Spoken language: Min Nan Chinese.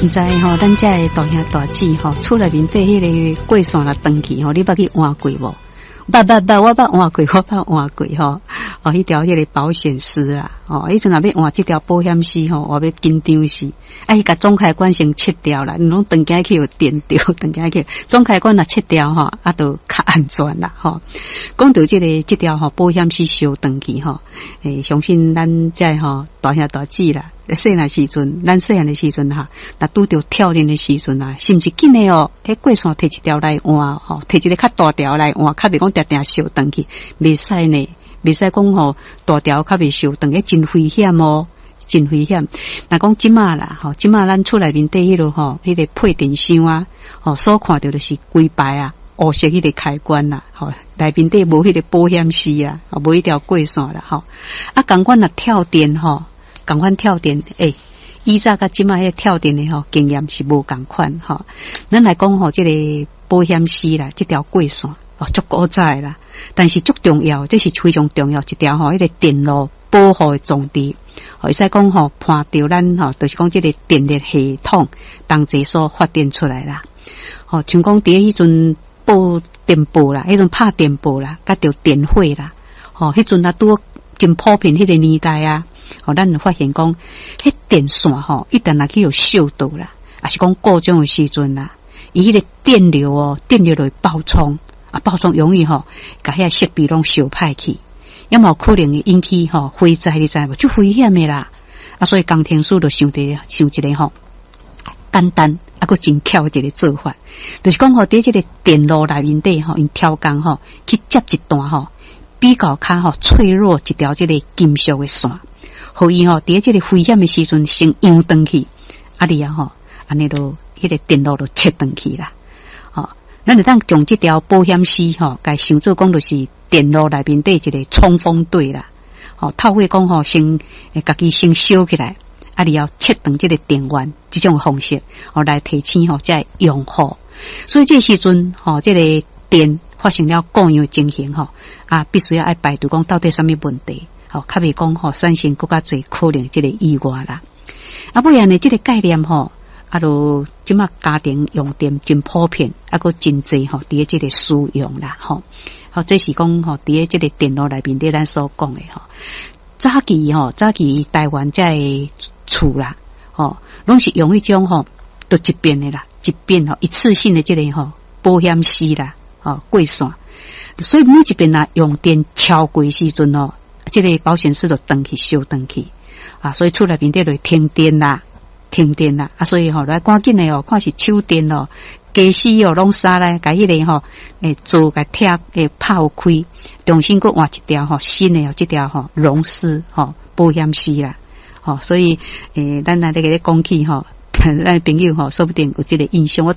毋知吼，咱遮的大兄大姊吼，厝內面底彼個過線若斷去吼，你捌去換過無？捌捌捌，我捌換過，我捌換過吼。哦，彼條彼個保險絲啊，哦，彼陣若欲換這條保險絲吼，我欲緊張死。啊，伊共總開關先切掉啦，毋攏斷去有電著，斷去總開關若切掉吼，啊，就較安全啦吼。講著這個這條吼保險絲燒斷去吼，相信咱遮吼大兄大姊啦，細漢時陣，咱細漢的時陣哈，若拄著跳電的時陣啊，是毋是緊的哦？彼過線提一條來換吼，提一個較大條來換，較袂講定定燒斷去，袂使呢，袂使講吼大條較袂燒斷，彼真危險哦，真危險。若講這馬啦，吼，這馬咱厝內面底彼落吼，彼個配電箱啊，吼，所看著就是規排啊，烏色彼個開關啦，吼，內面底無彼個保險絲啊，無彼條過線啦，吼。啊，仝款若跳電吼，仝款跳電，以早佮這馬彼個跳電的吼經驗是無仝款吼。咱來講吼，這個保險絲啦，這條過線哦，足古早的啦，但是足重要，這是非常重要一條吼，彼個電路保護的裝置。會使講吼，伴著咱吼，就是講這個電力系統同齊所發展出來啦。吼，像講佇彼陣報電報啦，彼陣拍電報啦，佮著電火啦，吼，彼陣啊拄真普遍彼個年代啊，吼，咱就發現講，彼電線吼，一旦若去予燒著啦，抑是講故障的時陣啦，伊彼個電流哦，電流就會爆衝，啊，爆衝容易吼，共遐設備攏燒歹去。也嘛有可能會引起吼火災，你知無？足危險的啦！啊，所以工程師就想著想一個吼簡單啊，閣真巧的一個做法，就是講吼，佇這個電路內面底吼，𪜶挑工吼去接一段吼比較較吼脆弱一條這個金屬的線，予伊吼佇這個危險的時陣先揚斷去，啊，了後吼，按呢就彼個電路就切斷去啦。吼，咱會當將這條保險絲吼，共想做講就是電路內面底一個衝鋒隊啦。吼，透過講吼，先家己先燒起來，啊，了後切斷這個電源，這種方式，吼來提醒吼遮用戶。所以這時陣吼，這個電發生了故障情形吼，啊，必須要愛排除講到底啥物問題，吼，較袂講吼產生閣較濟可能這個意外啦。啊，尾仔呢，這個概念吼，啊，就這馬家庭用電真普遍，啊，閣真濟吼，佇這個使用啦，吼。好，這是講吼，佇這個電路內面底咱所講的吼。早期吼，早期台灣遮的厝啦，吼，攏是用彼種吼，都一遍的啦，一遍吼，一次性的這個吼保險絲啦，吼過線。所以每一遍若用電超過時陣吼，這個保險絲就斷去燒斷去，啊，所以厝內面底就會停電啦，停電啦，啊，所以吼來趕緊的哦，看是手電哦。家私哦，攏閂來，共彼個吼，做共拆，拍開，重新閣換一條吼新的哦，這條吼熔絲吼保險絲啦，吼，所以咱來咧咧講起吼，咱朋友吼，說不定有這個印象，我拄。